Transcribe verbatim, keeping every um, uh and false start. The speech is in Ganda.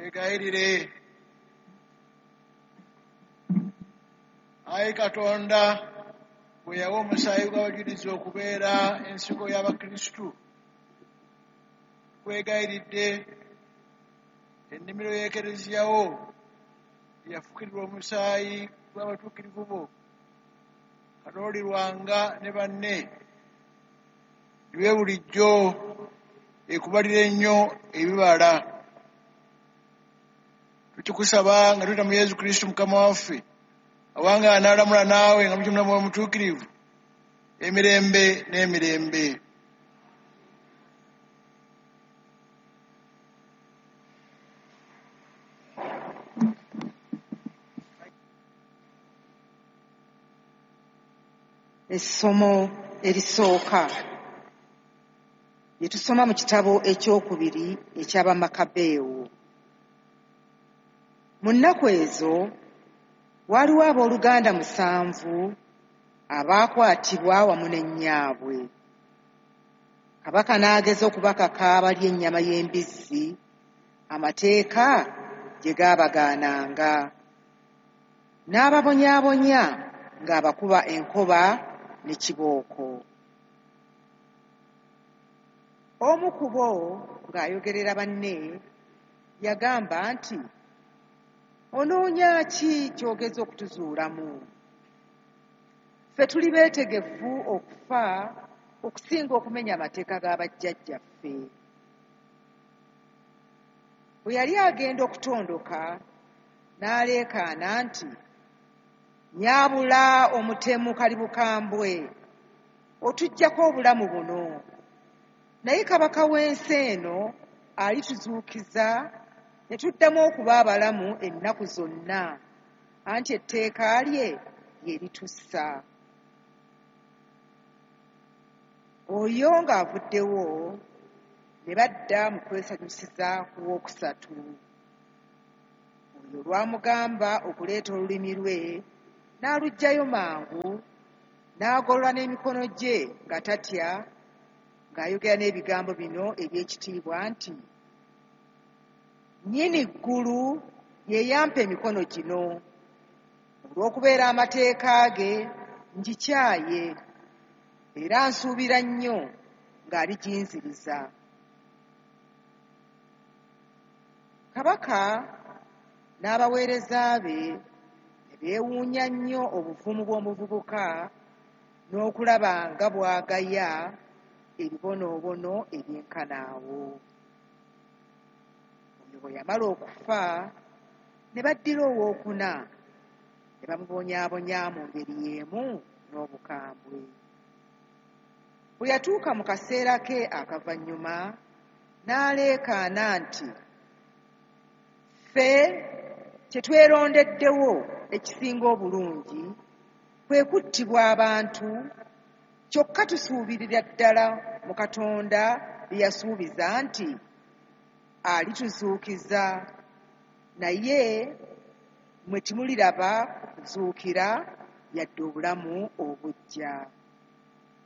Twegayirire. Ayi Katonda, bwe yawa omusaayi gw'abajulizi okubeera ensigo y'Abakristu, tukwegayiridde ennimiro y'Ekereziya wo eyafukirirwa omusaayi gw'abatuukirivu bo, Kalooli Lwanga ne banne, gibe bulijjo ekubalira ennyo ebibala. Tukikusaba nga tuyita mu Yesu Kristu Mukama waffe, awangaala n'alamula naawe nga mukimula Mwoyo Mutuukirivu, emirembe n'emirembe. Essomo erisooka lye tusoma mu kitabo ekyokubiri eky'Abamakabeewo. Mu nnaku ezo waaliwo abooluganda musanvu abaakwatibwa wamu ne nnyaabwe. Kabaka n'ageza okubakaka balye ennyama y'embizzi amateeka gye gaabagaananga. N'ababonyaabonya ng'abakuba enkoba ne kibooko. Omu ku bo ng'ayogerera banne yagamba nti, "Onoonya ki ky'ogeza okutuzuulamu? Ffe tuli beetegefu okufa okusinga okumenya amateeka ga bajjajjaffe." Bwe yali agenda okutondoka n'aleekaana nti, "Nnyabula omutemu kalibukambwe, otuggyako obulamu buno, naye kabaka w'ensi eno alituzuukiza ne tuddamu okuba abalamu ennaku zonna, anti etteeka lye lye litussa." Oyo ng'avuddewo ne badda mu kwesanyusiza ku wookusatu. Oyo olwamugamba okuleeta olulimi lwe n'aluggyayo mangu, n'agolola n'emikono gye nga tatya, ng'ayogera n'ebigambo bino eby'ekitiibwa nti, "Nnyini ggulu ye yampa emikono gino, olw'okubeera amateeka ge ngikyaye, era nsuubira nnyo ng'aliginziriza." Kabaka n'abaweereza be ne beewuunya nnyo obuvumu bw'omuvubuka n'okulaba nga bw'agaya ebibonoobono ebyenkana awo. Oyo bwe yamala okufa ne baddira owookuna ne bamubonyaabonya mu ngeri y'emu n'obukambwe. Bwe yatuuka mu kaseera ke akavannyuma n'aleekaana nti, "Ffe kye twerondeddewo ekisinga obulungi kwe kuttibwa abantu, kyokka tusuubirira ddala mu Katonda bye yasuubiza nti alituzuukiza, naye mmwe temuliraba kuzuukira yadde obulamu obuggya."